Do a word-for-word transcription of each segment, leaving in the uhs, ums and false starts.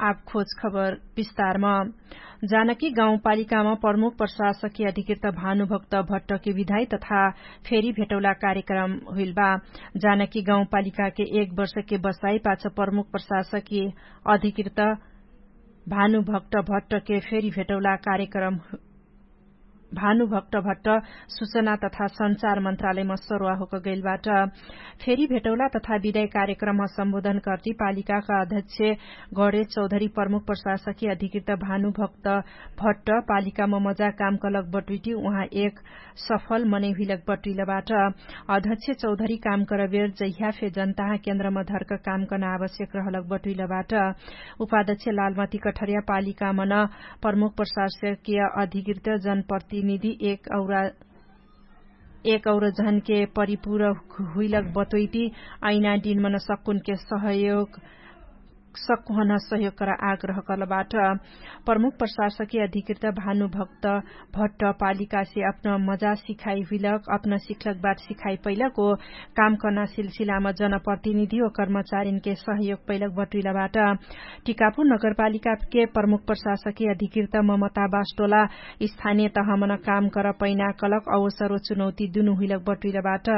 आब खोज खबर विस्तारमा। जानकी गाउँपालिकामा प्रमुख प्रशासकी अधिकृत भानुभक्त भट्टके विधाई तथा फेरी भेटौला कार्यक्रम हुइल बा। जानकी गाउँपालिकाके एक वर्षके बसाई पाछ प्रमुख प्रशासकी अधिकृत भानुभक्त भट्टके फेरी भेटौला कार्यक्रम भानुभक्त भट्ट सुचना तथा सञ्चार मन्त्रालयमा सरुवा होक गैलबाट। फेरी भेटौला तथा विदाई कार्यक्रममा सम्बोधन कर्ति पालिकाका अध्यक्ष गणेश चौधरी प्रमुख प्रशासकी अधिकृत भानुभक्त भट्ट पालिकामा मजा काम कलक बटुइटी उहाँ एक सफल मनै हुइलक बटुइलबाट। अध्यक्ष चौधरी काम करबेर जहिया फे जनताहा केन्द्रमा धर्क काम कर्ना आवश्यक रहलक बटुइलबाट। उपाध्यक्ष लालमती कठरिया पालिकामन प्रमुख प्रशासकीय अधिकृत जनप्रतिनिधि एक औरा एक और झनके परिपूर हुइलक बतोइटी अइना दिनमन सक्कुनके सहयोग सक्कुहन सहयोग करा आग्रह कलबाट। प्रमुख प्रशासकीय अधिकृत भानुभक्त भट्ट पालिकासे अपना मजा सिखाइ हुइलक अपना सिखलक बाट सिखाइ पैलक ओ काम कर्ना सिलसिलामा जनप्रतिनिधि ओ कर्मचारिनके सहयोग पैलक बटुइलबाट। टिकापुर नगरपालिकाके प्रमुख प्रशासकीय अधिकृत ममता बास्टोला स्थानीय तहमन काम कर पैना कलक अवसर ओ चुनौती दुनु हुइलक बटुइलबाट।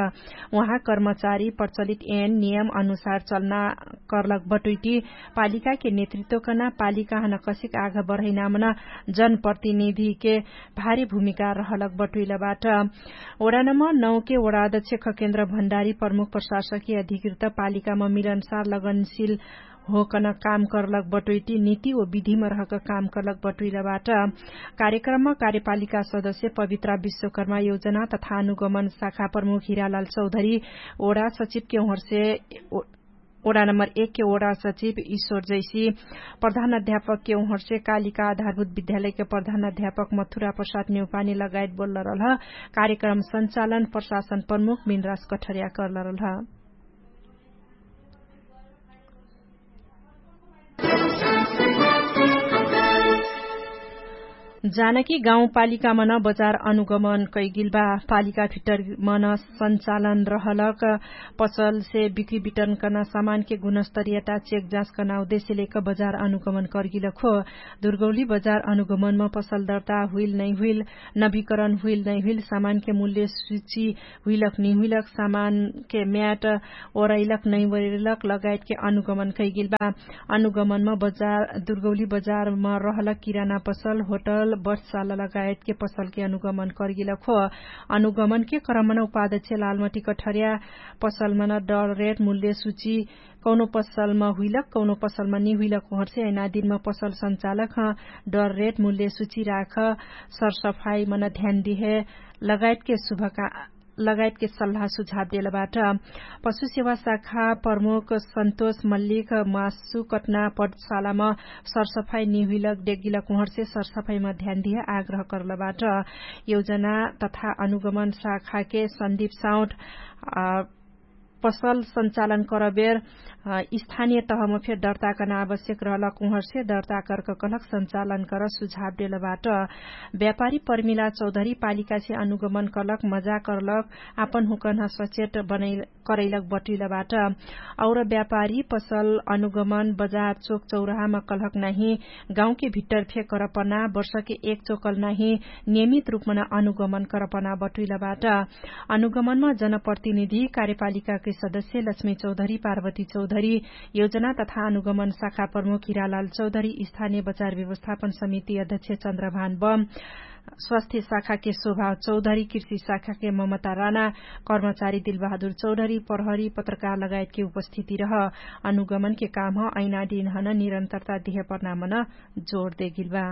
उहाँ कर्मचारी प्रचलित एन नियम अनुसार चल्ना कर्लक बटुइटी पालिकाके नेतृत्व कर्ना पालिकाहन कसिक आघ बढैनामन जनप्रतिनिधिके भारी भूमिका रहलक बटुइलबाट। ओडा नम्बर नौके ओडा अध्यक्ष खकेन्द्र भण्डारी प्रमुख प्रशासकीय अधिकृत पालिकामा मिलनसार लगनशिल होकन काम कर्लक बटोइटी निति ओ विधिम रहक काम कर्लक बटोइलबाट। कार्यक्रममा कार्यपालिका सदस्य पवित्रा विश्वकर्मा योजना तथा अनुगमन शाखा प्रमुख हिरालाल चौधरी ओडा सचिवके उहर्षे ओडा नम्बर एकके ओडा सचिव ईश्वर जैसी प्रधान अध्यापकके उहर्षे कालिका आधारभूत विद्यालयके प्रधान अध्यापक मथुरा प्रसाद नेउपानी लगायत बोल्लरल ह। कार्यक्रम सञ्चालन प्रशासन प्रमुख मिनराज कठर्या कर्लरल ह। जानकी गाउँपालिकामन बजार अनुगमन कैगिलबा। पालिका भित्तरमन सञ्चालन रहलक पसलसे बिक्री बिटन कर्ना सामानके गुणस्तरियता चेक जाँच कर्ना उद्देश्यलेक बजार अनुगमन कर्गिलक हो। दुर्गौली बजार अनुगमनमा पसल दर्ता हुइल नैहुइल नवीकरण हुइल नैहुइल सामानके मूल्य सुची हुइलक निहुइलक सामानके म्याट ओरैलक नैवरैलक लगायतके अनुगमन कैगिलबा। अनुगमनमा बजार दुर्गौली बजारमा रहलक किराना पसल होटल बर्षाला लगायतके पसलके अनुगमन कर्गिलक हो। अनुगमनके क्रमन उपादक्ष लालमटी कठर्या पसलमन डर रेट मूल्य सुची कौनो पसलमा हुइलक कौनो पसलमा निहुइलक उहर्षे ऐना दिनमा पसल सञ्चालक ह डर रेट मूल्य सुची राख सरसफाई मन ध्यान दिहे लगायतके सुभका लगायतके सल्लाह सुझाव देलबाट। पशु सेवा शाखा प्रमुख सन्तोष मल्लिक मासु कटना पटशालामा सरसफाई निहुइलक डेगिलक उहर्षे सरसफाईमा ध्यान दिहे आग्रह कर्लबाट। योजना तथा अनुगमन शाखाके सन्दीप साउट पसल सञ्चालन करबेर स्थानीय तहमा फेर दर्ता कर्ना आवश्यक रहलक उहर्षे दर्ता कर्क कलक सञ्चालन कर सुझाव देलबाट। व्यापारी पर्मिला चौधरी पालिकासे अनुगमन कलक मजा कर्लक आपन हुकन सचेट करैलक बटुइलबाट। और व्यापारी पसल अनुगमन बजार चोक चौराहामा कलक नाहि गाउँके भित्तर फे करपना वर्षके एक चोकल नाहि नियमित रूपमन अनुगमन करपना बटुइलबाट। अनुगमनमा जनप्रतिनिधि कार्यपालिकाके सदस्य लक्ष्मी चौधरी पार्वती चौधरी योजना तथा अनुगमन शाखा प्रमुख हिरालाल चौधरी स्थानीय बचार व्यवस्थापन समिति अध्यक्ष चन्द्रभान बम स्वास्थ्य शाखाके शोभा चौधरी कृषि शाखाके ममता राना कर्मचारी दिलबहादुर चौधरी प्रहरी पत्रकार लगायतके उपस्थिति रह। अनुगमनके काम ह ऐना दिनहन निरन्तरता दिहे पर्नामन जोर देगिलबा।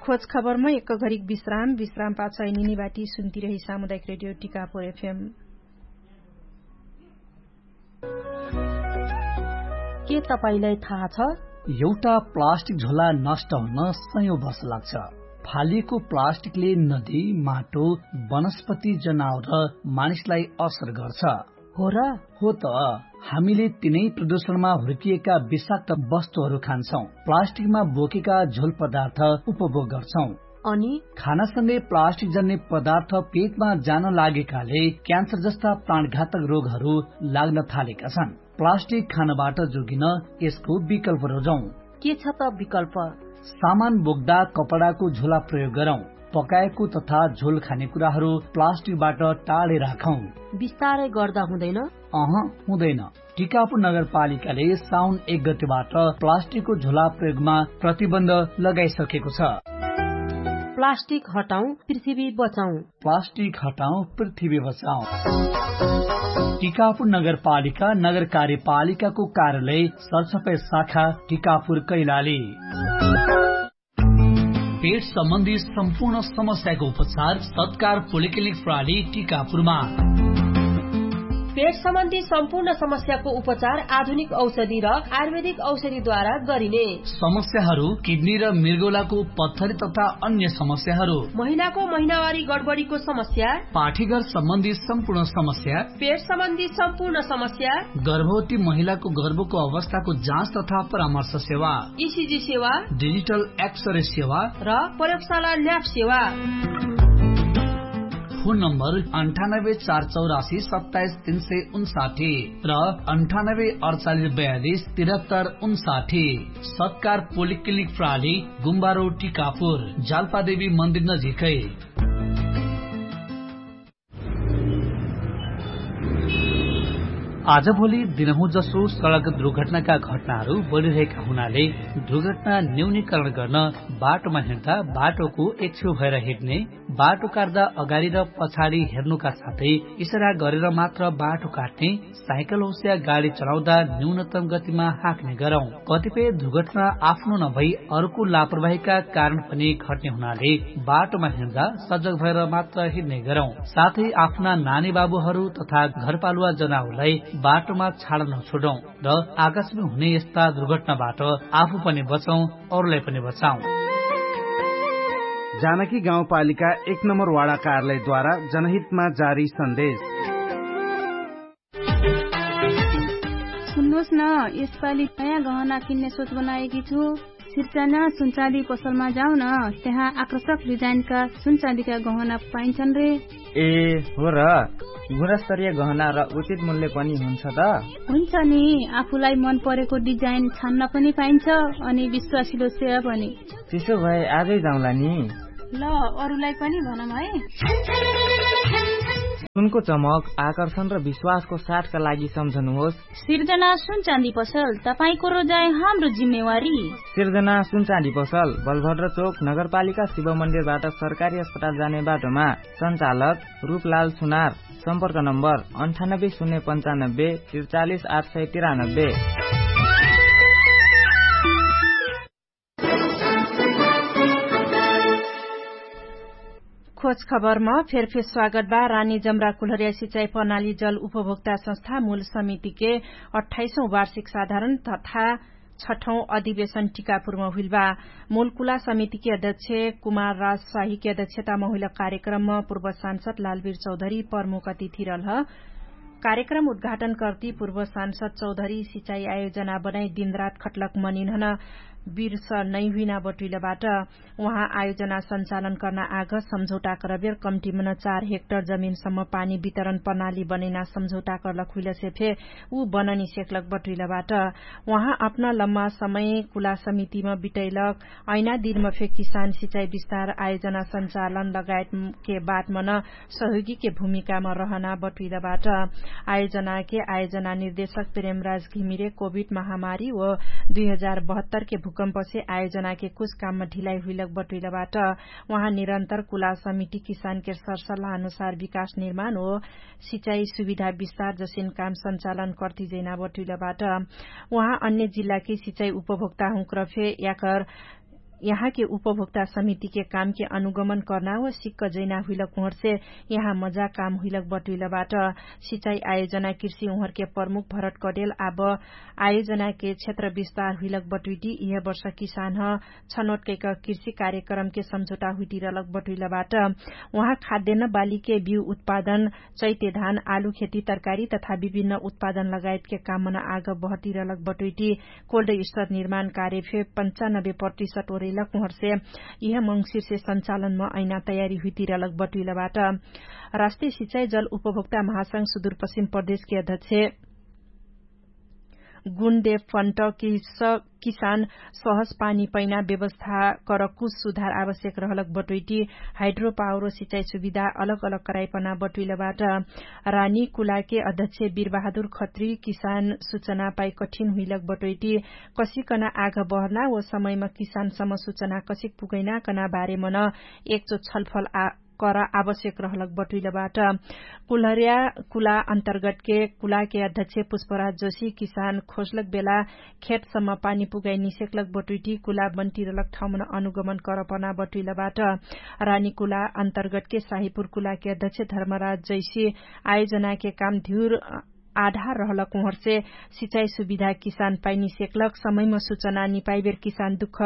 खोज खबरमा एक घरिक विश्राम विश्राम पाछ ऐनिनी बाटी सुन्ती रही सामुदायिक रेडियो टिकापुर एफएम। के तपाईंलाई थाहा छ? एउटा प्लास्टिक झोला नष्ट हुन सयौं वर्ष लाग्छ। फालिएको प्लास्टिकले नदी, माटो, वनस्पति, जनावर र मानिसलाई असर गर्छ। हो र? हो त। हामीले तिनै प्रदूषणमा हुर्किएका विषाक्त वस्तुहरू खान्छौं, प्लास्टिकमा बोकेका झोल पदार्थ उपभोग गर्छौं। अनि खानासँगै प्लास्टिक जन्ने पदार्थ पेटमा जान लागेकाले क्यान्सर जस्ता प्राणघातक रोगहरू लाग्न थालेका छन्। प्लास्टिक खानबाट जोगिन यसको विकल्प रोजौं। के छ त विकल्प? सामान बोक्दा कपडाको झोला प्रयोग गरौं। पकाएको तथा झोल खाने कुराहरू प्लास्टिकबाट टाढे राखौं। विस्तारै गर्दा हुँदैन? अह, हुँदैन। टिकापुर नगरपालिकाले साउन एक गतिबाट प्लास्टिकको झोला प्रयोगमा प्रतिबन्ध लगाइसकेको छ। प्लास्टिक हटाउँ, पृथ्वी बचाउँ। प्लास्टिक हटाउँ, पृथ्वी बचाउँ। टिकापुर नगरपालिका नगर कार्यपालिकाको कार्यालय सरसफाइ शाखा टिकापुर कैलाली। पेट सम्बन्धी सम्पूर्ण समस्याको उपचार सत्कार पोलिक्लिनिक प्रणाली टिकापुरमा। पेट सम्बन्धी सम्पूर्ण समस्याको उपचार आधुनिक औषधि र आयुर्वेदिक औषधिद्वारा गरिने। समस्याहरू किडनी र मृगौलाको पत्थरी तथा अन्य समस्याहरू, महिलाको महिनावारी गडबडीको समस्या, पाठीघर सम्बन्धी सम्पूर्ण समस्या, पेट सम्बन्धी सम्पूर्ण समस्या, गर्भवती महिलाको गर्भको अवस्थाको जाँच तथा परामर्श सेवा, इसिजी सेवा, डिजिटल एक्सरे सेवा र प्रयोगशाला ल्याब सेवा। फोन नम्बर अन्ठानब्बे चार चौरासी सत्ताइस तीन सय उन्साठी र अन्ठानब्बे अडचालिस बयालिस तिरहत्तर उन्साठी। सत्कार पोलिक्लिनिक प्रणाली, गुम्बारो टिकापुर, जालपादेवी मन्दिर नजिकै। आजभोलि दिनहुँ जसो सडक दुर्घटनाका घटनाहरू बढिरहेका हुनाले दुर्घटना न्यूनीकरण गर्न बाटोमा हिँड्दा बाटोको एक छेउ भएर हिँड्ने, बाटो काट्दा अगाडि र पछाडि हेर्नुका साथै इसारा गरेर मात्र बाटो काट्ने, साइकल होस्या गाडी चलाउँदा न्यूनतम गतिमा हाँक्ने गरौँ। कतिपय दुर्घटना आफ्नो नभई अर्को लापरवाहीका कारण पनि घट्ने हुनाले बाटोमा हिँड्दा सजग भएर मात्र हिँड्ने गरौँ। साथै आफ्ना नानी बाबुहरू तथा घरपालुवा जनाउलाई बाटोमा छाड नछुडौँ र आकाशमा हुने यस्ता दुर्घटनाबाट आफू पनि बचौँ, अरूलाई पनि बचाउँ। जानकी गाउँपालिका एक नम्बर वाडा कार्यालयद्वारा जनहितमा जारी सन्देश। सुन्नुहोस् न, यसपालि नयाँ गहना किन्ने सोच बनाएकी छु। सिर्जना सुनचाँदी पसलमा जाउँ न, त्यहाँ आकर्षक डिजाइनका सुनचाँदीका गहना पाइन्छन् रे। ए, हो र? गुणस्तरीय गहना र उचित मूल्य पनि हुन्छ त? हुन्छ नि, आफूलाई मन परेको डिजाइन छान्न पनि पाइन्छ, अनि विश्वासिलो सेवा पनि। त्यसो भए आजै जाउँला नि। ल, अरूलाई पनि भनौँ है। सुनको चमक, आकर्षण र विश्वासको साथका लागि सम्झनुहोस्। सिर्जना सुनचाँदी पसल, तपाईंको रोजाइ हाम्रो जिम्मेवारी। सिर्जना सुनचाँदी पसल, बलभद्र चोक, नगरपालिका शिव मन्दिरबाट सरकारी अस्पताल जाने बाटोमा। सञ्चालक रूपलाल सुनार। सम्पर्क नम्बर अन्ठानब्बे शून्य पन्चानब्बे त्रिचालिस आठ सय तिरानब्बे। खोज खबरमा फेरफेर स्वागत बा। रानी जमरा कुलहरिया सिँचाइ प्रणाली जल उपभोक्ता संस्था मूल समितिके अट्ठाइसौँ वार्षिक साधारण तथा छठौँ अधिवेशन टिकापुरमा हुइल बा। मूल कुला समितिके अध्यक्ष कुमार राज शाहीके अध्यक्षतामा हुइल कार्यक्रममा पूर्व सांसद लालवीर चौधरी प्रमुख अतिथि रहल ह। कार्यक्रम उद्घाटन कर्ति पूर्व सांसद चौधरी सिँचाइ आयोजना बनाइ दिनरात खटलक मनिन्हन बिर्स नैहुइना बटुइलबाट। उहाँ आयोजना सञ्चालन कर्ना आग सम्झौटा करबेर कम्टिमन चार हेक्टर जमिनसम्म पानी वितरण प्रणाली बनैना सम्झौटा कर्लक हुइलसे फे उ बननी सेक्लक बटुइलबाट। उहाँ अपना लम्मा समय कुला समितिम बिटैलक। ऐना दिनम फे किसान सिँचाइ विस्तार आयोजना सञ्चालन लगायतके बाटमन सहयोगीके भूमिकामा रहना बटुइलबाट। आयोजनाके आयोजना निर्देशक प्रेमराज घिमिरे कोभिड महामारी व दुई हजार बहत्तरके भूकम्पसे आयोजनाके कुछ काममा ढिलाइ हुइलक बटुइलबाट। उहाँ निरन्तर कुला समिति किसानके सरसल्लाह अनुसार विकास निर्माण व सिँचाइ सुविधा विस्तार जसिन काम सञ्चालन कर्ति जैना बटुइलबाट। उहाँ अन्य जिल्लाके सिँचाइ उपभोक्ता हुँक्रफे याकर यहाँके उपभोक्ता समितिके कामके अनुगमन कर्ना व सिक्क जैना हुइलक उहर्से यहाँ मजा काम हुइलक बटुइलबाट। सिँचाइ आयोजना कृषि उहर्के प्रमुख भरत कडेल आब आयोजनाके क्षेत्र विस्तार हुइलक बटुइटी इहे वर्ष किसान ह छनोट कैक कृषि कार्यक्रमके सम्झौटा हुइटिरलक बटुइलबाट। उहाँ खाद्यन्न बालीके बिउ उत्पादन चैते धान आलु खेती तरकारी तथा विभिन्न उत्पादन लगायतके कामन आग बहटिरलक बटुइटी कोल्ड स्तर निर्माण कार्य फे पन्चानब्बे प्रतिशत लक उहर्षे इह मङ्सिरसे सञ्चालनमा ऐना तयारी हुइतिरलक बटुइलबाट। राष्ट्रिय सिचाई जल उपभोक्ता महासंघ सुदुरपश्चिम प्रदेशके अध्यक्ष गुणदेव फन्ट किसान सहज पानी पैना व्यवस्था करकुस सुधार आवश्यक रहलक बटुइटी हाइड्रो पावर सिचाई सुविधा अलग अलग कराइपना बटुइलबाट। रानी कुलाके अध्यक्ष बिरबहादुर खत्री किसान सुचना पाइ कठिन हुइलक बटोइटी कसिकन आघ बहर्ना व समयमा किसान समसुचना कसिक पुगैना कना बारेमन एकचो छलफल कर आवश्यक रहलक बटुइलबाट। कुलहर्या कुला अन्तर्गटके कुलाके अध्यक्ष पुष्पराज जोशी किसान खोसलक बेला खेटसम्म पानी पुगाइ निसेक्लक बटुइटी कुला बन्टिरलक ठाउँमन अनुगमन करपना बटुइलबाट। रानी कुला अन्तर्गटके साहिपुर कुलाके अध्यक्ष धर्मराज जैसी आयोजनाके काम धिउर आधार रहलक उहर्षे सिचाई सुविधा किसान पाइनी सेक्लक समयमा सुचना निपाइबेर किसान दुख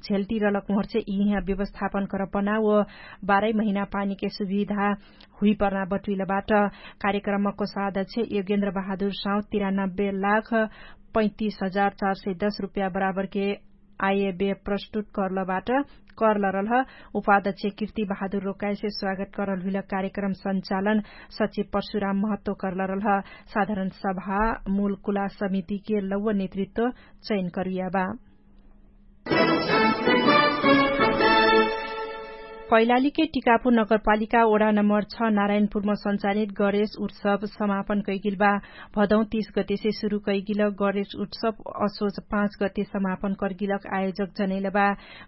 झेल्टिरलक उहर्षे इहिया व्यवस्थापन करपना व बाह्रै महिना पानीके सुविधा हुइपर्ना बटुइलबाट। कार्यक्रमको साध्यक्ष योगेन्द्र बहादुर साउँ तिरानब्बे लाख पैतिस हजार चार सय दस रुपैया बराबरके आयबे प्रस्तुत कर्लबाट कर्लरलह उपाध्यक्ष कृति बहादुर रोकाइसे स्वागत करल हुइल। कार्यक्रम सञ्चालन सचिव परशुराम महत्व कर्लरलह। साधारण सभा मूल कुला समितिके लौव नेतृत्व चयन करुइयाबा। कैलालीके टिकापुर नगरपालिका ओडा नम्बर छ नारायणपुरमा सञ्चालित गणेश उत्सव समापन कैगिलबा। भदौं तीस गतेसे सुरु कैगिलक गणेश उत्सव असोज पाँच गते समापन कर्गिलक आयोजक जनैलबा।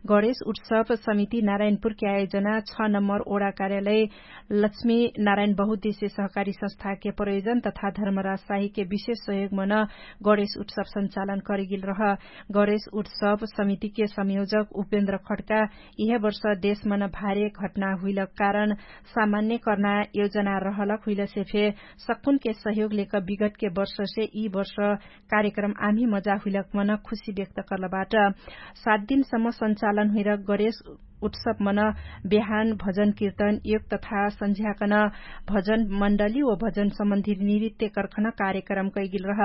गणेश उत्सव समिति नारायणपुरके आयोजना छ नम्बर ओडा कार्यालय लक्ष्मी नारायण बहुद्देश्य सहकारी संस्थाके प्रयोजन तथा धर्मराज साहिके विशेष सहयोगमन गणेश उत्सव सञ्चालन करिगिल रह। गणेश उत्सव समितिके संयोजक उपेन्द्र खड्का इहे वर्ष देशमन भारे घटना हुइलक कारण सामान्य कर्ना योजना रहलक हुइलसे फे सक्कुनके सहयोग लेक विगतके वर्षसे यि वर्ष कार्यक्रम आम्ही मजा हुइलक मन खुशी व्यक्त कर्लबाट। सात दिनसम्म सञ्चालन हुइलक गणेश उत्सव मन बेहान भजन किर्तन योग तथा सन्झ्याकन भजन मण्डली व भजन सम्बन्धी नृत्य कर्खन कार्यक्रम कैगिल रह।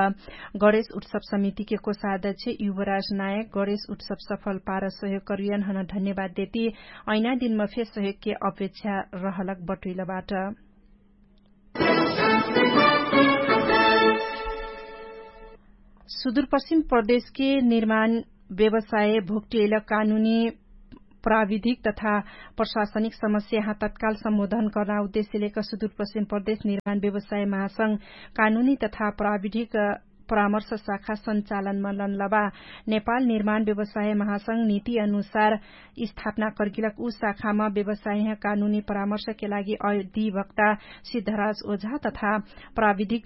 गणेश उत्सव समितिके कोषाध्यक्ष युवराज नायक गणेश उत्सव सफल पार सहयोग करुयन हन धन्यवाद देती। ऐना दिनमा फे सहयोगके अपेक्षा रहलक बटुइलबाट। सुदुरपश्चिम प्रदेशके निर्माण व्यवसाय भोक्टियल कानुनी प्राविधिक तथा प्रशासनिक समस्याहा तत्काल सम्बोधन कर्ना उद्देश्यलेक सुदुरपश्चिम प्रदेश निर्माण व्यवसाय महासंघ कानुनी तथा प्राविधिक परामर्श शाखा सञ्चालनमा लनलबा। नेपाल निर्माण व्यवसाय महासंघ नीति अनुसार स्थापना कर्गिलक उ शाखामा व्यवसायह कानुनी परामर्शके लागि अधिवक्ता सिद्धराज ओझा तथा प्राविधिक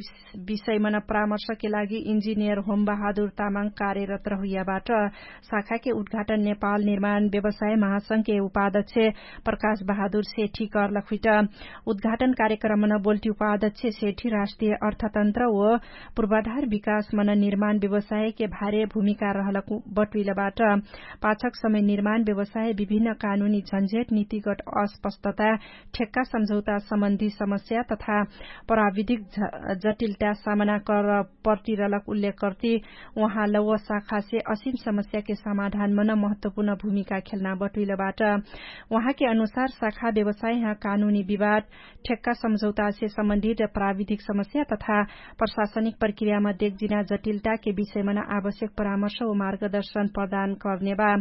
विषयमन परामर्शके लागि इन्जिनियर होम बहादुर तामाङ कार्यरत रहुइयाबाट। शाखाके उद्घाटन नेपाल निर्माण व्यवसाय महासंघके उपाध्यक्ष प्रकाश बहादुर सेठी कर्लक हुइट। उद्घाटन कार्यक्रमन बोल्टी उपाध्यक्ष सेठी राष्ट्रिय अर्थतन्त्र व पूर्वाधार विकासमन निर्माण व्यवसायके भारे भूमिका रहलक बटुइलबाट। पाछक समय निर्माण व्यवसाय विभिन्न कानुनी झन्झेट नीतिगत अस्पष्टता ठेक्का सम्झौता सम्बन्धी समस्या तथा प्राविधिक जटिलता सामना कर पर्टिरलक उल्लेख कर्ति उहाँ लौव शाखासे असिम समस्याके समाधानमन महत्वपूर्ण भूमिका खेल्ना बटुइलबाट। उहाँके अनुसार शाखा व्यवसायह कानुनी विवाद ठेक्का सम्झौतासे सम्बन्धित प्राविधिक समस्या तथा प्रशासनिक प्रक्रियामा देखजिना जटिलताके विषयमन आवश्यक परामर्श व मार्गदर्शन प्रदान कर्नेबा।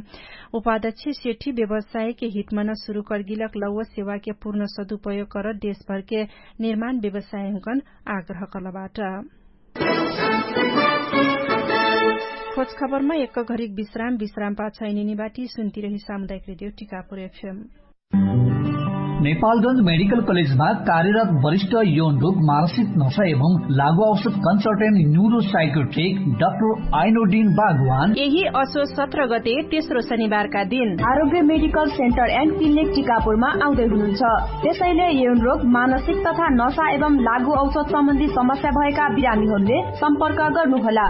उपाध्यक्ष सेठी व्यवसायके हितमन सुरु कर्गिलक लौव सेवाके पूर्ण सदुपयोग कर देशभरके निर्माण व्यवसायहुँकन आग्रह कर्लबाट। खोजखबरमा एक घरिक विश्राम विश्राम पाछ इनिनिबाटी सुन्तिरही सामुदायिक रेडियो टिकापुर एफएम। नेपालगञ्ज मेडिकल कलेजमा कार्यरत वरिष्ठ यौन रोग मानसिक नशा एवं लागु औषध कन्सल्टेन्ट न्युरो साइकोट्रिक डाक्टर आइनोडिन बागवान यही असो सत्र गते तेस्रो शनिबारका दिन आरोग्य मेडिकल सेन्टर एन्ड क्लिनिक टिकापुरमा आउँदै हुनुहुन्छ। त्यसैले यौन रोग मानसिक तथा नशा एवं लागु औषध सम्बन्धी समस्या भएका बिरामीहरूले सम्पर्क गर्नुहोला।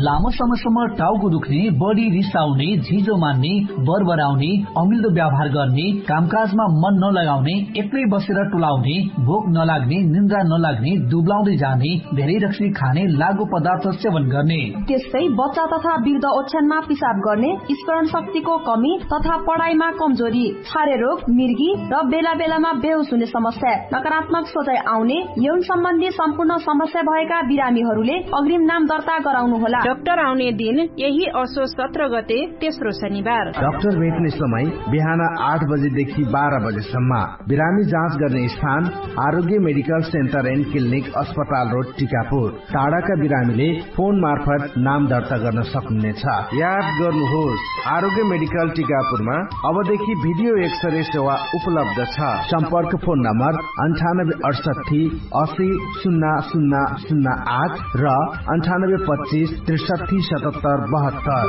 लामो समयसम्म टाउको दुख्ने, बढी रिसाउने, झिजो मान्ने, बरबराउने, अमिल्दो व्यवहार गर्ने, कामकाजमा मन नलगा आउने एक्लै बसेर टुलाउने, भोक नलाग्ने, निन्द्रा नलाग्ने, दुब्लाउँदै जाने, धेरै रक्सी खाने, लागु पदार्थ सेवन गर्ने, त्यस्तै बच्चा तथा वृद्ध ओछ्यानमा पिसाब गर्ने, स्मरण शक्तिको कमी तथा पढाइमा कमजोरी, छारे रोग, मिर्गी र बेला बेलामा बेहोस हुने समस्या, नकारात्मक सोचाइ आउने, यौन सम्बन्धी सम्पूर्ण समस्या भएका बिरामीहरूले अग्रिम नाम दर्ता गराउनु होला। डाक्टर आउने दिन यही असोज सत्र गते, तेस्रो शनिबार। डाक्टर भेट्ने समय बिहान आठ बजेदेखि बाह्र बजेसम्म। बिरामी जाँच गर्ने स्थान आरोग्य मेडिकल सेन्टर एन्ड क्लिनिक, अस्पताल रोड, टिकापुर। टाढाका बिरामीले फोन मार्फत नाम दर्ता गर्न सक्नुहुनेछ। याद गर्नुहोस्, आरोग्य मेडिकल टिकापुरमा अबदेखि भिडियो एक्सरे सेवा उपलब्ध छ। सम्पर्क फोन नम्बर अन्ठानब्बे अठसट्ठी असी सुन्ना सुन्ना सुन्ना आठ र अन्ठानब्बे पच्चिस त्रिसट्ठी सतहत्तर बहत्तर।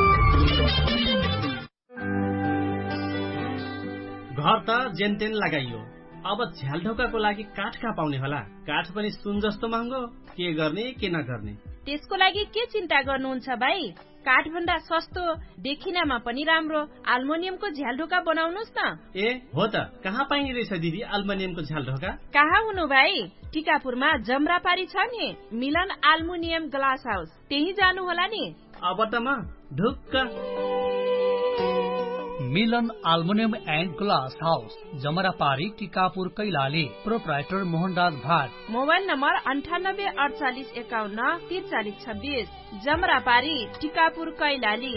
घर त जेनतेन लगाइयो, अब झ्यालढोकाको लागि काठ कहाँ पाउने होला? काठ पनि सुन जस्तो महँगो। के गर्ने के नगर्ने? त्यसको लागि के चिन्ता गर्नुहुन्छ भाइ? काठभन्दा सस्तो देखिनामा पनि राम्रो आल्मोनियमको झ्यालढोका बनाउनुस् न। ए हो त, कहाँ पाइने रहेछ दिदी आल्मोनियमको झ्यालढोका? कहाँ हुनु भाइ? टिकापुरमा जमरापारी छ नि, मिलन आल्मुनियम ग्लास हाउस, त्यही जानु होला नि। अब त म ढुक्क। मिलन आल्मुनियम एन्ड ग्लास हाउस, जमरापारी, टिकापुर, कैलाली। प्रोप्राइटर मोहनराज भाट। मोबाइल नम्बर अन्ठानब्बे अडचालिस एकाउन्न तिरचालिस छब्बिस। जमरापारी, टिकापुर, कैलाली।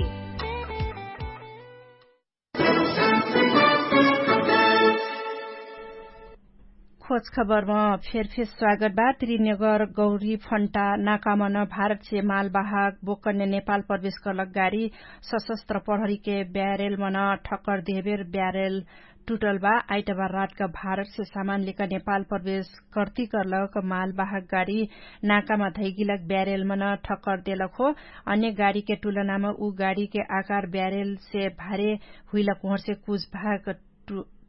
खोज खबरमा फेरफेर स्वागत बा। त्रिनगर गौरी फन्टा नाकामन भारतसे मालवाहक बोकन्य नेपाल प्रवेश करलक गाडी सशस्त्र प्रहरीके ब्यारेलमन ठक्कर देहबेर ब्यारेल टुटल बा। आइतबार रातका भारतसे सामान लिका नेपाल प्रवेश कर्ती करलक मालवाहक गाडी नाकामा धैगिलक ब्यारेलमन ठक्कर देलक हो। अन्य गाडीके टुलनामा उ गाडीके आकार ब्यारेलसे भारे हुइलक उहरसे कुछ भाग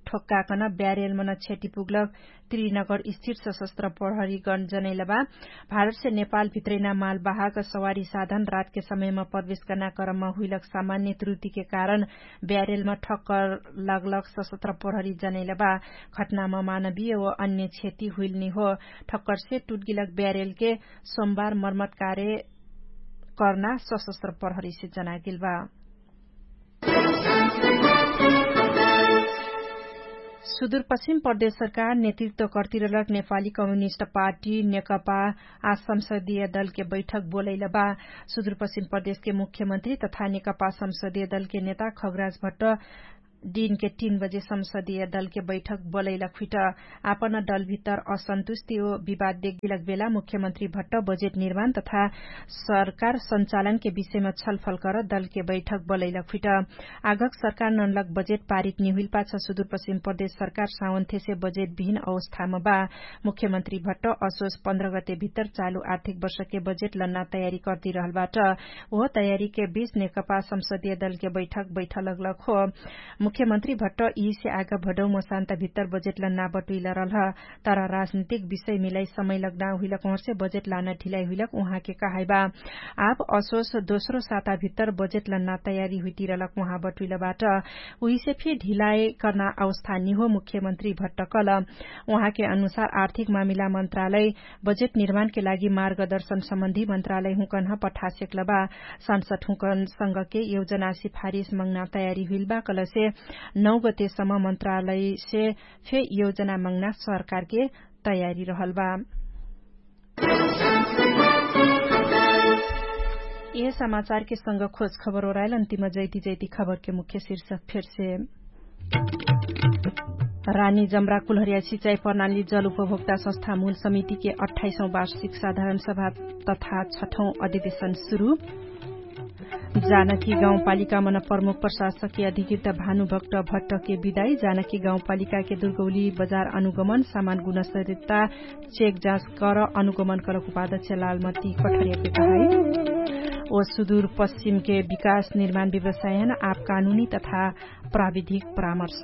ठोक्काकन ब्यारेलमन क्षति पुग्लक त्रिनगर स्थिर सशस्त्र प्रहरीगण जनैलबा। भारतसे नेपाल भित्रैना मालवाहक सवारी साधन रातके समयमा प्रवेश कर्ना क्रममा हुइलक सामान्य त्रुतिके कारण ब्यारेलमा ठक्कर लगलक सशस्त्र प्रहरी जनैलबा। घटनामा मानवीय व अन्य क्षति हुइलनी हो। ठक्करसे टुटगिलक ब्यारेलके सोमबार मर्मत कार्य कर्ना सशस्त्र प्रहरीसे जनागिलबा। सुदूरपश्चिम प्रदेश सरकार नेतृत्व कर्तिरलक नेपाली कम्युनिस्ट पार्टी नेकपा आ संसदीय दलके बैठक बोलैलबा। सुदूरपश्चिम प्रदेशके मुख्यमन्त्री तथा नेकपा संसदीय दलके नेता खगराज भट्ट दिनके तीन बजे संसदीय दलके बैठक बोलैलक हुइट। आपन दलभित्तर असन्तुष्टि ओ विवाद देगिलक बेला मुख्यमन्त्री भट्ट बजेट निर्माण तथा सरकार सञ्चालनके विषयमा छलफल कर दलके बैठक बोलैलक हुइट। आगक सरकार ननलक बजेट पारित निहुइल पाछ सुदूरपश्चिम प्रदेश सरकार सावन्थेसे बजेट विहिन अवस्थामा बा। मुख्यमन्त्री भट्ट असोस पन्ध्र गते भित्तर चालु आर्थिक वर्षके बजेट लन्ना तयारी कर्तिरहलबाट। ओह तयारीके बीच नेकपा संसदीय दलके बैठक बैठलक हो। मुख्यमन्त्री भट्ट यिसे आगा भडौ मसान्ता भित्तर बजेट लन्ना बटुइलरलह। तर राजनीतिक विषय मिलाइ समय लग्ना हुइलक उहर्से बजेट लाना ढिलाइ हुइलक उहाँके कहाइबा। आब असोस दोस्रो साता भित्तर बजेट लन्ना तयारी हुइतिरलक उहाँ बटुइलबाट। उहिसे फे ढिलाइ कर्ना अवस्था निहो मुख्यमन्त्री भट्ट कल। उहाँके अनुसार आर्थिक मामिला मन्त्रालय बजेट निर्माणके लागि मार्गदर्शन सम्बन्धी मन्त्रालय हुँकन्ह पठासेक्लबा। सांसद हुँकन संगके योजना सिफारिस मङ्ना तयारी हुइलबा कलसे नौ गतेसम्म मन्त्रालयसे फे योजना मङ्ना सरकारके तयारी रहलबा। यह समाचारके संग खोज खबर ओराइल अन्तिम जैती जैती खबरके मुख्य शिर्ष फेरसे। रानी जम्रा कुलहरिया सिचाइ प्रणाली जल उपभोक्ता संस्था मूल समितिके अठाइसौं वार्षिक साधारण सभा तथा छठौं अधिवेशन सुरु। जानकी गाउँपालिका मन प्रमुख प्रशासकीय अधिकृत भानुभक्त भट्टके बिदाई। जानकी गाउँपालिकाके दुर्गौली बजार अनुगमन सामान गुणस्तरिता चेक जाँच कर अनुगमन कलक उपादक्ष लालमती कठरियाके कहाई। ओ सुदूर पश्चिमके विकास निर्माण व्यवसायन आप कानुनी तथा प्राविधिक परामर्श।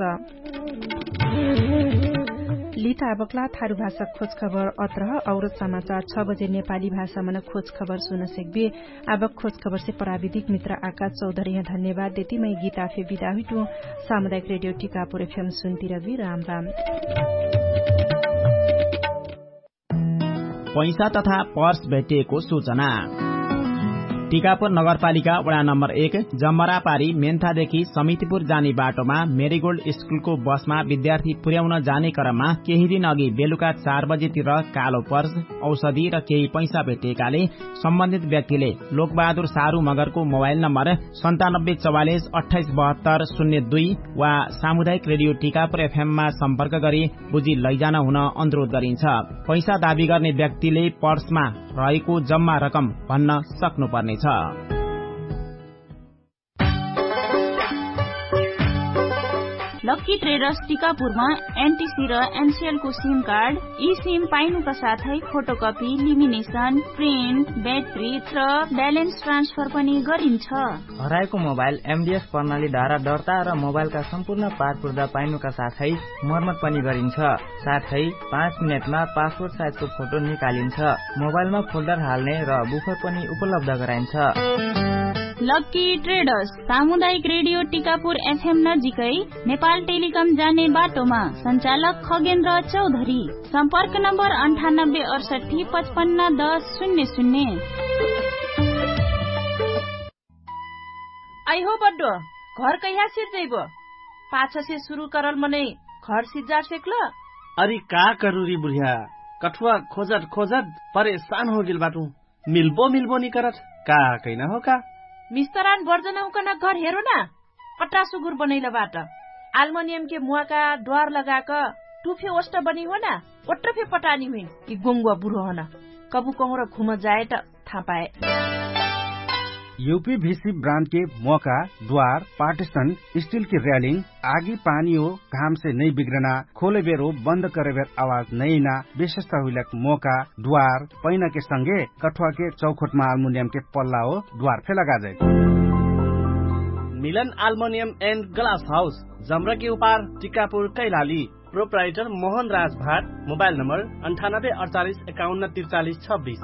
लित आबकला थारु भाषा खोजखबर अत्रह। और समाचार छ बजे नेपाली भाषामन खोजखबर सुन सेक्बे। आबक खोजखबरसे प्राविधिक मित्र आकाश चौधरीह धन्यवाद देती मै गीता फे बिदा हुइटु। सामुदायिक रेडियो टिकापुर एफएम सुन्तिरबी राम राम। पैसा तथा पर्स भेटिएको सूचना। टिकापुर नगरपालिका वडा नम्बर एक जम्मरापारी मेन्थादेखि समितिपुर जाने बाटोमा मेरीगोल्ड स्कुलको बसमा विद्यार्थी पुर्याउन जाने क्रममा केही दिन अघि बेलुका चार बजेतिर कालो पर्स, औषधि र केही पैसा भेटिएकाले सम्बन्धित व्यक्तिले लोकबहादुर सारु मगरको मोबाइल नम्बर सन्तानब्बे चौवालिस अट्ठाइस बहत्तर शून्य दुई वा सामुदायिक रेडियो टिकापुर एफएममा सम्पर्क गरी बुझी लैजान हुन अनुरोध गरिन्छ। पैसा दावी गर्ने व्यक्तिले पर्समा रहेको जम्मा रकम भन्न सक्नुपर्नेछ। लक्की ट्रेडर्स टिकापुरमा एनटिसी र एनसिएलको सिम कार्ड, ई सिम पाइनुका साथै फोटोकपी, लिमिनेसन, प्रिन्ट, ब्याट्री र ब्यालेन्स ट्रान्सफर पनि गरिन्छ। हराएको मोबाइल एमडिएस प्रणाली धारा दर्ता र मोबाइलका सम्पूर्ण पारपुर्दा पाइनुका साथै मर्मत पनि गरिन्छ। साथै पाँच मिनेटमा पासपोर्ट साइजको फोटो निकालिन्छ। मोबाइलमा फोल्डर हाल्ने र बुफर पनि उपलब्ध गराइन्छ। लक्की ट्रेडर्स सामुदायिक रेडियो टिकापुर एफएम नजिकै नेपाल टेलिकम जाने बाटोमा सञ्चालक खगेन्द्र चौधरी। सम्पर्क नम्बर अन्ठानब्बे अडसट्ठी पचपन्न दस शून्य शून्य। आइ हो बड्डो, घर कैहा सिर्जैबो? पाछसे सुरु करल मनै घर सिर्जार सेक्ल? अरि का करुरी बुढिया, कठुवा खोजट खोजट परेशान होगेल बाटु। मिल्बो मिल्बो निकरट का कैना हो का? मिस्तरान बर्जनहुकन घर हेरो ना। कट्रा सुगुर बनैल बाट। आल्मनियमके मुवाका द्वार लगाक टुफे ओष्ट बनी हो ना। ओट्र फे पटानी हुइन कि गोङ्गुवा बुरो हन। कबु कहुँर घुम जाए त थापाए। युपी भिसी ब्रान्डके मोका द्वार पार्टिसन स्टिलके र्यालिङ आगी पानी हो घामसे नै बिग्रना खोले बेरो बन्द करे बेर आवाज नैना विशेषता हुइलक मोका द्वार पैनाके संगे कठुवाके चौखोटमा आल्मुनियमके पल्ला हो द्वार फे लगाजै। मिलन आल्मोनियम एन्ड ग्लास हाउस जम्रके उपार टिकापुर कैलाली। प्रोप्राइटर मोहन राज भाट। मोबाइल नम्बर अन्ठानब्बे अडचालिस एकाउन्न त्रिचालिस छब्बिस।